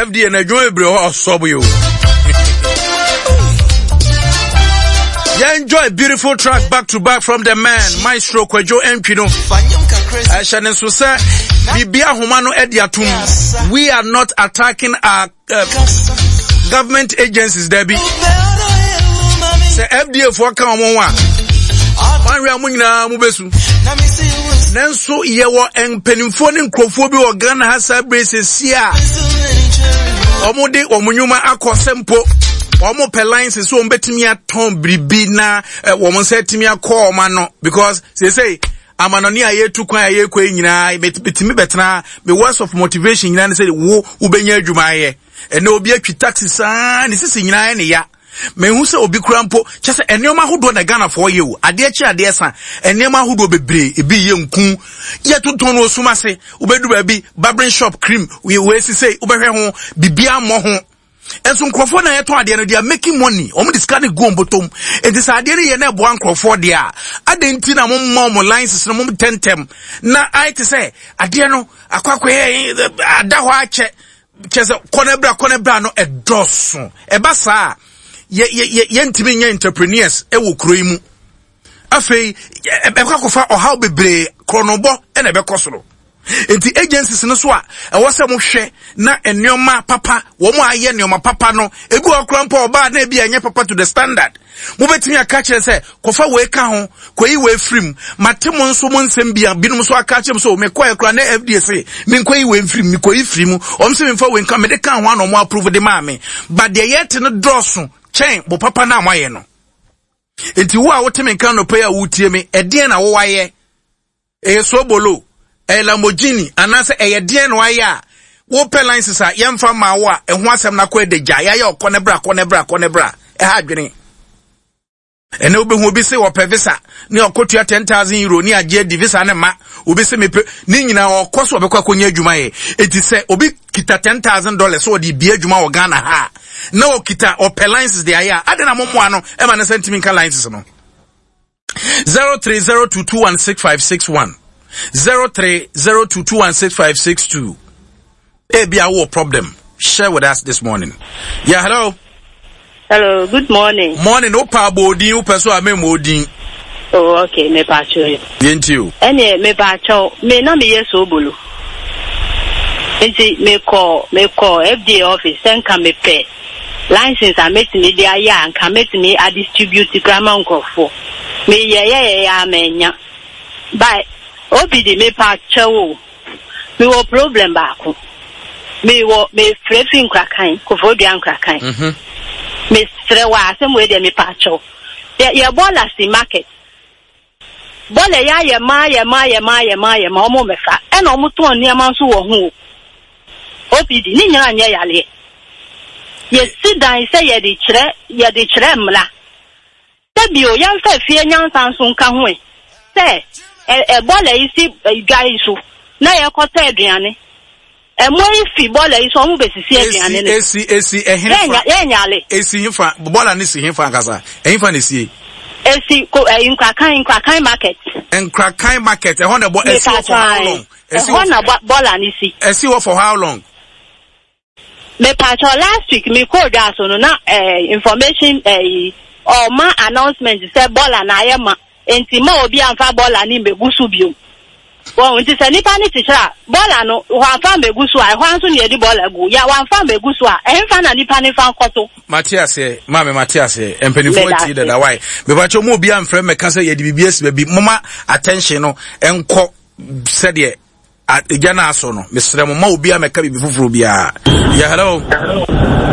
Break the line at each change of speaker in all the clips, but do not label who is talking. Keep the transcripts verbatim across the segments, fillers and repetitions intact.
F D A na adwuma bebree hɔ ɔsɔbo yi o. Yeah, enjoy beautiful track back to back from the man Maestro Kwadwo Antwi no. Ɛhyɛ ne nso sɛ biribi ahoma no ɛde atom. We are not attacking our uh, government agencies, dabi. Sɛ F D A foɔ ka wɔn ho a, wɔn a mo nyinaa mo bɛsu. Nanso yɛwɔ mpanimfoɔ ne nkurɔfoɔ bi wɔ Ghana ha saa bere sisi a wɔn de wɔn nnwuma akɔ sɛ mpo wɔn pɛ license so wɔn bɛtumi atɔn biribi na wɔn nsa atumi akɔ wɔn ano, because seesei amanɔne a yɛtu kwan a yɛkɔ yi nyinaa, betumi bɛtena me words of motivation nyinaa ne sɛ wo wobɛnya adwuma ayɛ. Ɛnna obi atwi taxi saa ne sisi nyinaa ne ya. Mehu sɛ obi kura mpo kyɛ sɛ nneɛma ahodoɔ na Ghanafoɔ yɛ o. Adeɛ kye adeɛ sa, nneɛma ahodoɔ bebree, ebi yɛ nku yɛtontɔn no osum ase. Wobɛdu baabi, barbering shop, cream wei sisei wobɛhwɛ ho biribiara mmɔ ho. Nso nkurɔfoɔ na yɛtɔn adeɛ no, they are making money. Wɔn de sika no gu wɔn bɔtɔm. Nti sɛ adeɛ no yɛ na ɛboa nkurɔfoɔ deɛ a, adeɛ nti na mo mma wɔn license no mo ntɛntɛm na ayɛ te sɛ adeɛ no akɔ akɔyɛ ada hɔ akyɛ kyɛ sɛ kɔnɛ bra kɔnɛ bra no ɛdɔɔso. Ɛba saa, yɛ yɛ yɛ yɛntumi nyɛ entrepreneurs ɛwɔ kuro yi mu. Afei ɛbɛkɔ akɔfa ɔhaw bebree, korɔnobɔ ɛna ɛbɛkɔ soro. Nti agencies no so a ɛwɔ sɛ mohwɛ na nneɛma papa wɔn a ayɛ nneɛma papa no, ebi wɔ kora mpo ɔbaa na ebi ɛnyɛ papa to the standard, mobɛtumi aka kyerɛ sɛ kɔfa wei ka ho, kɔyi wei firim. Mate mo nso mo nsɛm bi a binom nso aka kyerɛ m sɛ mekɔɛ kora na F D A se menkɔyi wei mfirim, mekɔyi firi mu, ɔm sɛ memfa wei nka mede ka ho ana ɔmo approve de maa me. But deɛ yɛte no dɔɔso kyɛn bo papa no a moayɛ no. Nti wo a wote me nka nɔpɛ yi a wotie me, ɛdeɛn na wowayɛ? Ɛyɛ sobolo, ɛyɛ Lamborghini, anaasɛ ɛyɛ deɛn na wayɛ a wopɛ license a yɛmfa maa wo a ɛho asɛm no akɔ ɛda gya yɛayɛ ɔkɔ ne bra, kɔ ne bra, kɔ ne bra? Ɛha adwene. Ɛnɛ wobɛhu obi se wɔpɛ visa ne ɔkɔtua ten thousand euro ne agye adi visa ne ma. Obi se mepɛ ne nyinaa, ɔkɔ so ɔbɛkɔ akɔnya adwuma yɛ. Eti sɛ obi kita ten thousand dollars sɛ ɔde bie adwuma wɔ Ghana ha na ɔkita ɔpɛ license de ayɛ a, ade na momoa no ɛma ne sɛ ntumi nka license no. zero three zero two two one six five six one, zero three zero two two one six five six two. Ebi a wɔ problem, share with us this morning. Yeah, hello.
Hello, good morning.
Morning. Wo pa abɔ odin, wopɛ so a memmɔ odin.
Oh, okay, mepa kyɛw yi.
Yɛnti o.
Ɛneɛ mepa kyɛw, me na meyɛ soobolo. Nti mekɔ mekɔ F D A office sɛ nka mepɛ license a mɛtumi de ayɛ a nka mɛtumi adistribute kora ma nkurɔfoɔ. Meyɛ yɛyɛ a manya. But obi de mepa kyɛw o. Mewɔ problem baako. Mewɔ mefrɛ fi Nkrakan, Koforidua Nkrakan.
Mhm.
Mesrɛ wɔ asɛm wei deɛ, mepa kyɛw. Yɛ yɛ bɔɔla si market. Bɔɔla yɛ ayɛ ma ayɛ ma ayɛ ma ayɛ ma ayɛ ma ɔmo mɛfa, ɛna ɔmo tɔn nneɛma nso wɔ ho o. O P D ne nyinaa nyɛ yaleɛ. Yɛsi dan sɛ yɛde kyerɛ yɛde kyerɛ mmara. Sɛbi o, yɛmfa fie nyansa nso nka ho ɛ. Sɛ ɛ ɛ bɔɔla yi si dwa yi so na yɛkɔtɔ aduane. Ɛmo yi fi bɔɔla yi so, ɔmo bɛsisi aduane no.
Esi esi ɛhen
fa? Yɛnyale.
Esi hefa? Bɔɔla ne si hefa ankasa? Ɛhefa na esie?
Esi ko ɛyi Nkrakan Nkrakan market.
Nkrakan market, ɛhɔ na bɔ esi hɔ for how long?
Esi hɔ na bɔɔla ne si.
Esi hɔ for how long?
Mepatɔ, last week mi kɔ dwa so no na ɛɛ information ɛyi ɔma announcement sɛ bɔɔla na ayɛ ma, nti ma obi anfa bɔɔla ne mbegu so biom. Wɔn nti sɛ nipa ne kyekyere a, bɔɔla no wɔamfa mbegu so a, ɛhɔ nso na yɛde bɔɔla gu ya. Wɔamfa mbegu so a, ɛnfa na nipa ne fa nkɔto.
Mate aseɛ, maame, mate aseɛ. Mpanimfoɔ atie dada wae. Mepakyɛ mu, obi amfrɛ mmɛka sɛ yɛde biribi asi baabi. Moma attention no ɛnkɔ sɛdeɛ egya no asɔ no. Mesrɛ mo, ma obi amɛka biribi foforɔ biara. Yɛ, hello.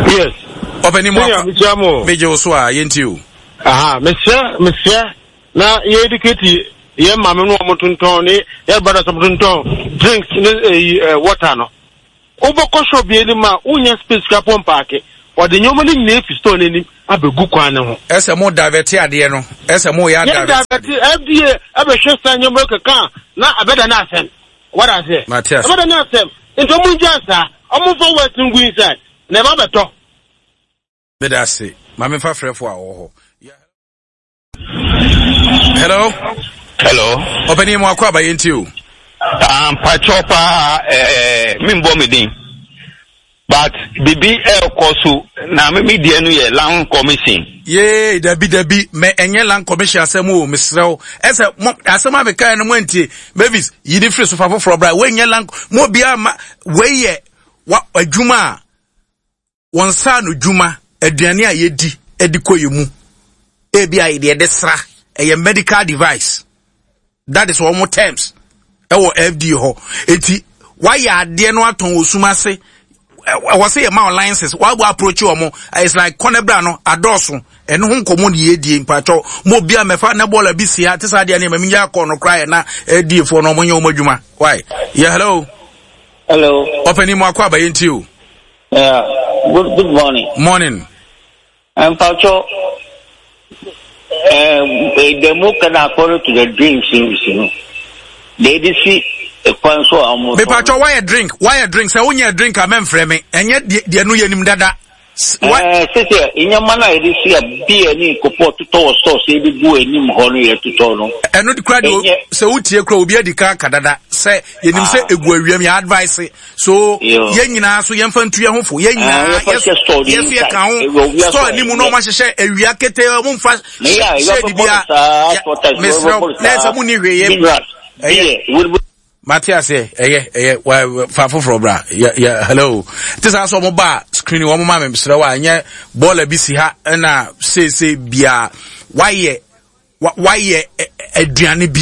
Yes.
Ɔpɛni mu akɔ megye wo so a, yɛnti o.
Aha, mesrɛ mesrɛ na yɛ educate yɛ maame no, ɔmo tontɔn ne yɛ brothers, ɔmo tontɔn drinks ne eyi ɛ water no. Wobɛkɔ shop bi anim a, wonya space kura pɔ mpaake, wɔde nneɛma no nyinaa fi store n'anim abɛgu kwan ne ho.
Ɛsɛ mo divert adeɛ no, ɛsɛ mo yɛ
divert. Yɛ divert, F D A ɛbɛhwɛ sa nneɛma keka na abɛda ne asɛm wɔda aseɛ.
Mate ase.
Ɛbɛda ne asɛm, nti ɔmo ngya saa, ɔmo nfa waste ngu inside na ɛba bɛtɔ.
Meda ase. Maame, fa frɛfo a ɔwɔ hɔ. Hello.
Hello.
Ɔpɛni mu akɔ aba, yɛnti o.
Mpakyɛw paa, ɛɛ membɔ me din. But bibi ɛkɔ so na me me deɛ no yɛ land commission.
Yee dabi dabi mɛ ɛnyɛ land commission asɛm o, mesrɛ wo. Ɛsɛ mo asɛm a mekae no mo antie. Mavis yi ne firi so fa foforɔ bra. Wei nyɛ land mo obiara ma wei yɛ wa adwuma a wɔn nsa ano dwuma, aduane a yɛdi de kɔ yɛ mu. Ebi a yɛde yɛde sra ɛyɛ medical device. That is wɔn terms ɛwɔ F D A hɔ. Eti wayɛ adeɛ no atɔn wɔ sum ase, ɛwɔ sɛ yɛ ma licenses wabɔ approach wɔn. It's like kɔnɛbra no adɔɔso, ɛno ho nkɔmɔ ne yɛdie. Mpatwɔ mo obi a mɛfa na bɔɔla bi si ha te sɛ adeɛ no yɛ mɛmi nyɛ akɔ no koraa yɛ na F D A foɔ no wɔn nyɛ wɔn adwuma. Why yɛ hello?
Hello.
Ɔpɛni mu akɔ abayɛ nti o.
Yeah. Good good morning.
Morning.
Mpacho, eh, the mu kana according to the drinks you know. They did see kwan so a wɔn.
Mepatwɔ, wayɛ drink wayɛ drink sɛ wonyɛ drink a mɛmfrɛ me. Ɛnyɛ deɛ deɛ no yɛ nim dada.
Ɛɛ sisi nneɛma no a yɛde si a beer ne kopɔ totɔ wɔ stores yɛde gu anim hɔ no yɛ totɔ no.
Ɛno kura deɛ, sɛ wotie kura obi adi ka ka dada sɛ yɛnim sɛ egu awiam yɛ advice so yɛn nyinaa so yɛmfa ntu yɛn ho fo, yɛn nyinaa yɛ so yɛ ka ho store anim na ɔmo ahyehyɛ awia kete, ɔmo nfa shade bia. Mesrɛ na ɛsɛ mo ni hwee yɛ ɛyɛ mate aseɛ. Ɛyɛ ɛyɛ wa fa foforɔ bra. Yɛ yɛ hello, te saa sɛ ɔmo ba screen wɔn ma mi srɛ wa ɛnyɛ bɔɔla bi si ha ɛna seesei bia wayɛ wayɛ aduane bi,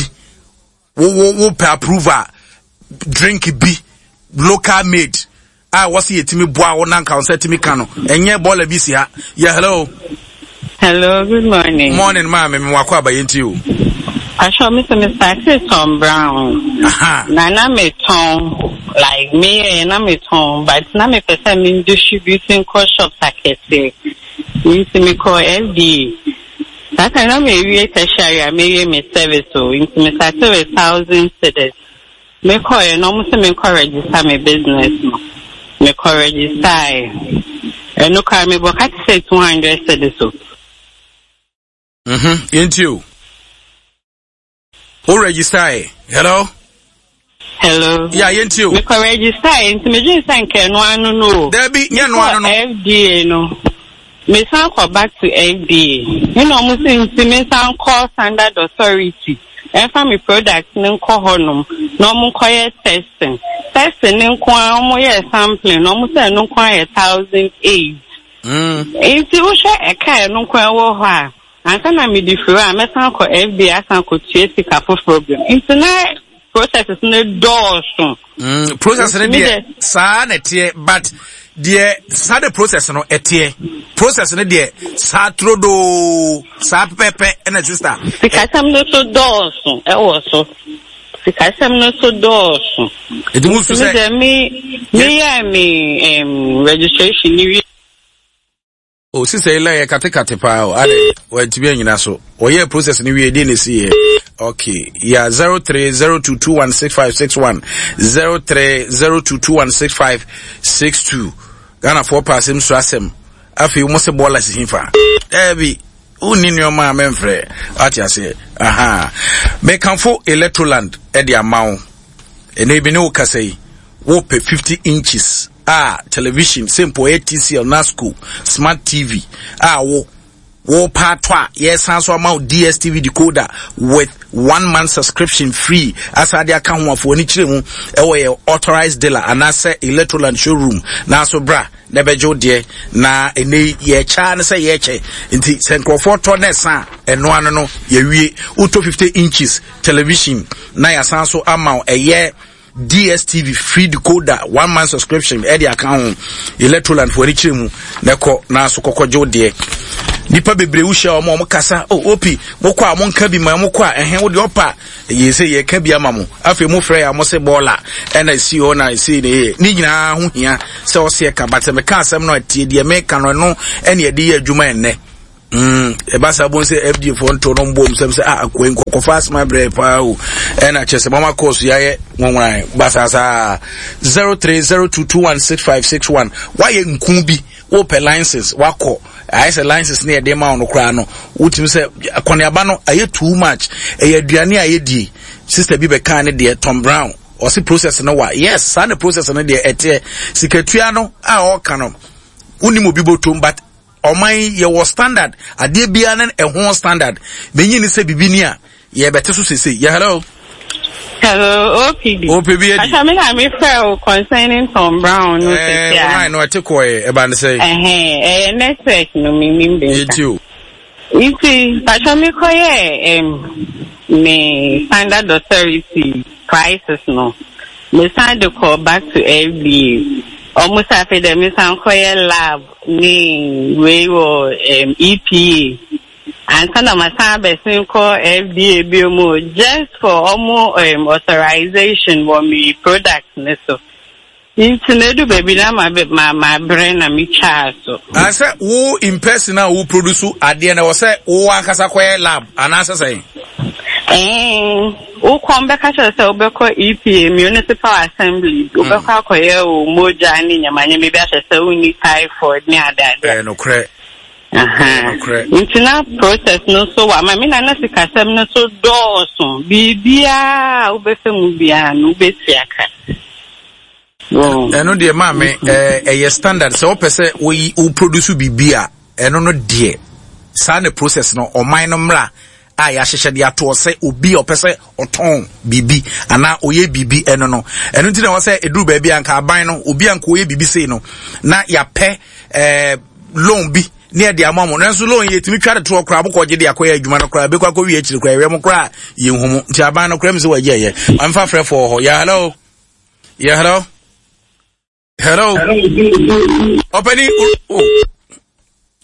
wo wo wo pɛ approval, drink bi local made a wɔsi yɛtumi boa wo na nka wɔn sɛ tumi ka no, ɛnyɛ bɔɔla bi si ha. Yɛ hello.
Hello, good morning.
Morning, maame mi wakɔ abayɛ nti o.
Pastor, Mister Mister Tom Brown.
Aha.
Na na me tɔn like me yɛ na me tɔn, but na me pɛ sɛ me distributing kɔ shops akɛse. Nti me kɔ F D A. That time na me wie tertiary a me wie me service o. Nti me start with thousand cedis. Me kɔ yɛ na ɔmo sɛ me kɔ register me business no. Me kɔ register yɛ. Ɛno kora me bɔ ka te sɛ two hundred cedis o.
Mhm. Yɛnti o. O register yɛ. Hello.
Hello.
Ya, yɛnti o.
Mekɔ register yɛ nti medwene sɛ nka ɛno ano no o.
Dabi, nyɛ no ano no.
F D A no. Mesan kɔ back to F D A. Ɛna ɔmo sɛ nti mesan kɔ Standard Authority. Ɛmfa me product no nkɔ hɔnom na ɔmo nkɔyɛ testing. Testing ne nko ara, ɔmo yɛ sampling na ɔmo sɛ ɛno nko ara yɛ thousand eight.
Mm.
Nti wohwɛ ɛka ɛno nko ara wɔ hɔ a, ansa na mede firi hɔ a mɛsan kɔ F D A asan kɔtua sika foforɔ bio. Nti na processes no dɔɔso.
Mm, process no
Nti me
deɛ
deɛ-
saa na ɛteɛ, but deɛ saa de process no ɛteɛ, process no deɛ saa turodoo saa pɛpɛpɛ ɛna sister.
Sikasɛm no so dɔɔso ɛwɔ so. Sikasɛm no so dɔɔso.
Eti mo nso
Nti me
sɛ
deɛ me meyɛɛ me um, registration ni wie.
O sister yi line yɛ katekate paa o, ade wɔntumi anyina so. Wɔyɛ process no wie deɛ na esi yɛ okay. Yeah, zero three zero two two one six five six one, zero three zero two two one six five six two. Ghanafoɔ pa asɛm so asɛm. Afei wɔn sɛ bɔɔla si fa ɛɛbi wonni nneɛma a mɛmfrɛ ate aseɛ. Aha, mekamfo Electroland ɛde ama wo. Ɛnna ebi ne wo kasa yi, wopɛ fifty inches a television sɛ mpo ɛyɛ T C L Nasco smart T V a wo wɔpa atɔ a, yɛsan so ama wo D S T V decoder with one month subscription free asade aka ho. Afɔ ani kyerɛ mu ɛwɔ yɛ authorized dealer anaasɛ Electroland showroom nanso bra na ɛbɛgye wo deɛ. Na ɛnɛ yi yɛkyɛ ne sɛ yɛkyɛ nti sɛ nkurɔfoɔ tɔ ne ɛsa a, ɛno ano no yɛwie. Wotɔ fifty inches television na yɛasan so ama wo ɛyɛ D S T V free decoder, one month subscription ɛde aka ho. Electroland fo ani kyerɛ mu na ɛkɔ na so kɔkɔ gye wo deɛ. Nipa bebree wohyia wɔn a wɔn kasa o opi mokɔ a monka bi ma mokɔ a ɛhɛn wo deɛ ɔpa yɛ sɛ yɛka bi ama mo. Afei mo frɛ yɛ a mo se bɔɔla ɛna esi hɔ na esi ne yɛ ne nyinaa ho hia sɛ ɔsi ɛka, but meka asɛm no atie deɛ meka no, ɛno ɛne yɛde yɛ adwuma ɛnnɛ. Mm, ɛba saa bon sɛ F D A foɔ nto no mbom sɛm sɛ ah akoa nkɔkɔfa asoma brɛ paa o, ɛna kyerɛ sɛ mama course yɛayɛ nwonwan basaasaa. zero three zero two two one six five six one. Wayɛ nku bi, wopɛ license, wakɔ ayɛ sɛ license ne yɛde ma wo no koraa no, wotumi sɛ akɔneaba no ayɛ too much. Ɛyɛ aduane a yɛdie. Sister bi bɛkaa ne deɛ Tom Brown. Ɔse process no wa. Yes, saa na process no deɛ ɛteɛ. Sikatua no a ɔka no, wonim obi bɔtom, but ɔman yɛwɔ standard. Adeɛ biara ne ɛho standard. Menyi ne sɛ bibi ni a yɛbɛte so sese. Yeah, hello.
Hello, O P D.
O P B edi.
Acha me na me frɛ o concerning Tom Brown no.
Eh,
sisi a.
Online no ɛte kɔɛ ɛba ne sɛ.
Ɛhɛn, ɛyɛ network no me nim de nka.
Yɛti o.
Nti, pacha me kɔyɛ um, me Standard Authority prices no. Me san de kɔ back to F D A. Ɔmo sɛ afei dɛ me san kɔyɛ lab ne wei wɔ um, E P A. Ansa na ma san abɛsen kɔ F D A bio mu just for ɔmo um, authorization wɔ me product ne so. Nti na edu baabi na ma ma ma brɛ na me twaa so.
Sɛ wo in person a wo produce adeɛ na wɔ sɛ wo ankasa kɔyɛ lab anaasɛ sɛn?
Ɛɛn, wokɔ bɛka kyerɛ sɛ wobɛkɔ E P A, Municipal Assembly, wobɛkɔ akɔyɛ wo mogya ne nyamanyama bi ahyɛ sɛ wonni typhoid ne adeade.
Ɛɛ, nokorɛ.
Aha.
Nokorɛ.
Nti na process no so wɔ ama me na na sikasɛm no so dɔɔso. Biribiara a wobɛfɛ mu biara no, wobɛtua ka. Wɔn.
Ɛno deɛ, maame, ɛɛ ɛyɛ standard sɛ wopɛ sɛ woyi wo produce biribi a, ɛno no deɛ, saa ne process no. Ɔman no mmra a yɛahyehyɛ de atoɔ sɛ obi a ɔpɛ sɛ ɔtɔn biribi anaa ɔyɛ biribi, ɛno no, ɛno nti na ɛwɔ sɛ ɛduru baabi a nka aban no, obi a nka ɔyɛ biribi sei no, na yɛapɛ ɛɛ loan bi ne yɛde ama mo. Nanso loan yɛtumi twa de toɔ koraa, mokɔ gye de akɔyɛ adwuma no koraa, bɛkɔ akɔwie akyiri koraa, ɛwɛ mo koraa yɛnhu mu. Nti aban no koraa mi sɛ wɔagye ɛyɛ mamfa frɛfoɔ wɔ hɔ. Yɛ hello, yɛ hello, hello, ɔpɛni o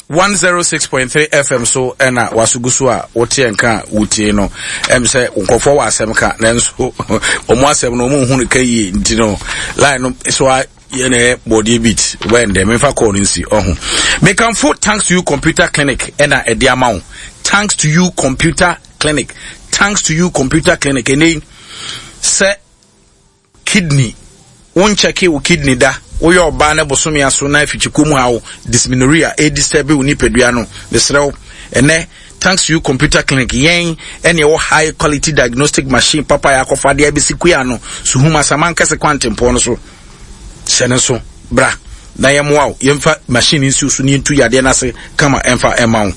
one zero six point three F M so ɛna wasogu so a woteɛ nka a wotie no. Ɛm sɛ nkurɔfoɔ wɔ asɛm ka, nanso ɔmo asɛm no, ɔmo nhu no ka yie, nti no line no so a yɛn ɛyɛ bɔdeɛ beat wɛn dɛ memfa kɔɔ no nsi ɔho. Mekamfo Thanks to You Computer Clinic ɛna ɛde ama wo. Thanks to You Computer Clinic, Thanks to You Computer Clinic, ɛnɛ yi sɛ kidney, wonkyɛke wo kidney da, woyɛ ɔbaa ne bosome aso na afikyikuo mu ha wo dysmenorrhea ɛdisturb wo nipadua no, mesrɛ wo, ɛnɛ Thanks to You Computer Clinic, yɛn ɛne ɛwɔ high quality diagnostic machine papa yɛ akɔfa deɛ abɛsi kua no Suhum Asaman Kɛse kwantempɔn no so. Hyɛ ne so bra na yɛmmoa wo, yɛmfa machine nsi so ne yɛntu yadeɛ no ase kama ɛmfa ɛma wo.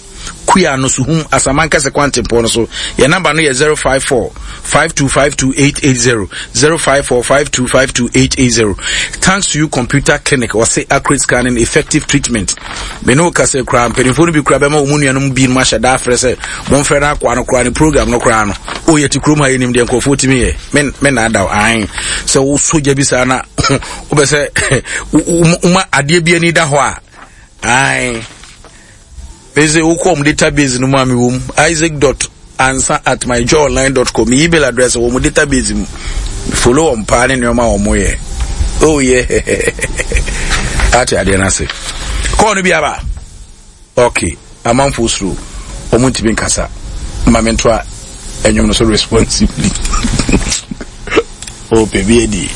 Kua no Suhum Asaman Kɛse kwantempɔn no so. Yɛn number no yɛ zero five four five two five two eight eight zero, zero five four five two five two eight eight zero. Thanks to You Computer Clinic, ɔse accurate scanning, effective treatment. Me ne wo kasa koraa, mpanimfoɔ no bi koraa bɛma wɔn mu nuanom bi nom ahyɛ da afrɛ sɛ momfrɛ no akoa no koraa ne program no koraa no. O, yɛte kurom ha, yɛnim deɛ nkurɔfoɔ tumi yɛ. Me me na adaw ahen sɛ wosɔ gya bi saa na wobɛ sɛ woma adeɛ bi ani da hɔ a ae mese wokɔ ɔmo database no mu a mewɔ mu, isaac dot ansa at myjoyonline dot com, me email address wɔ mo database mu. Follow wɔn paa ne nneɛma a wɔn yɛ. Oh yeah, ate adeɛ no ase. Kɔɔ no bi aba. Okay, amanfoɔ suro, wɔn ntumi nkasa. Ma me ntoa ɛnwom no so responsibly. Oh, baby, edi.